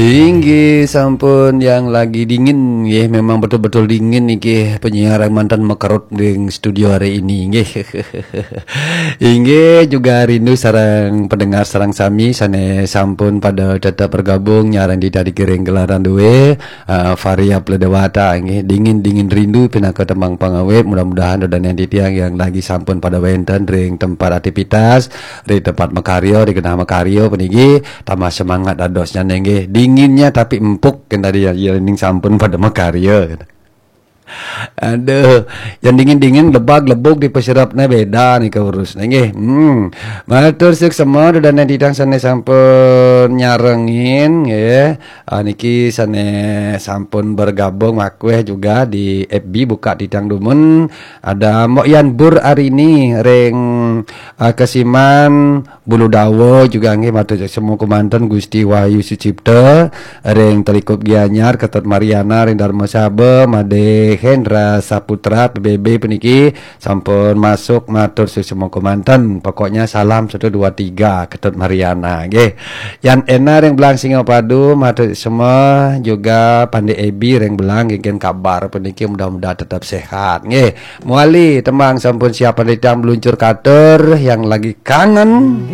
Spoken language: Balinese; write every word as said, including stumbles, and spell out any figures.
Inggih sampun yang lagi dingin nggih, memang betul-betul dingin niki penyiar yang mantan mekerut di studio hari ini nggih. Inggih juga rindu sareng pendengar sareng sami sane sampun pada tetap bergabung nyarang di tadi kiring gelaran duwe uh, Varia Pledewata nggih, dingin-dingin rindu pinaka tembang pangawit. Mudah-mudahan dodanen titiang yang lagi sampun pada wenten ring tempat aktivitas, ring tempat makarya, ring genah makarya puniki tambah semangat dadosnya nggih. Dinginnya tapi empuk kan tadi ya, ya ning sampun pada makarya. Aduh, yang dingin-dingin lebag lebug di pesirapnya beda nih keurus nggih. Hmm. Matur suksema dodanen titiang sane sampun nyarengin nggih. Ah, niki sane sampun bergabung makweh juga di F B buka titiang dumun. Ada Mbok Yan Bur Arini ring ah, Kesiman Bulu Dawa juga nggih matur semua kemanten Gusti Wahyu Sucipta ring Telikup Gianyar, Ketut Mariana ring Dharma Saba, Made Hendra Saputra P B B puniki sampun masuk matur semua kemanten. Pokoknya salam satu dua tiga Ketut Mariana nggih. Yan Ena ring Belang Singapadu matur semua juga Pande Ebi ring Belang nggih kabar puniki mudah-mudahan tetap sehat nggih. Muali tembang sampun siap ring titiang meluncur katur yang lagi kangen.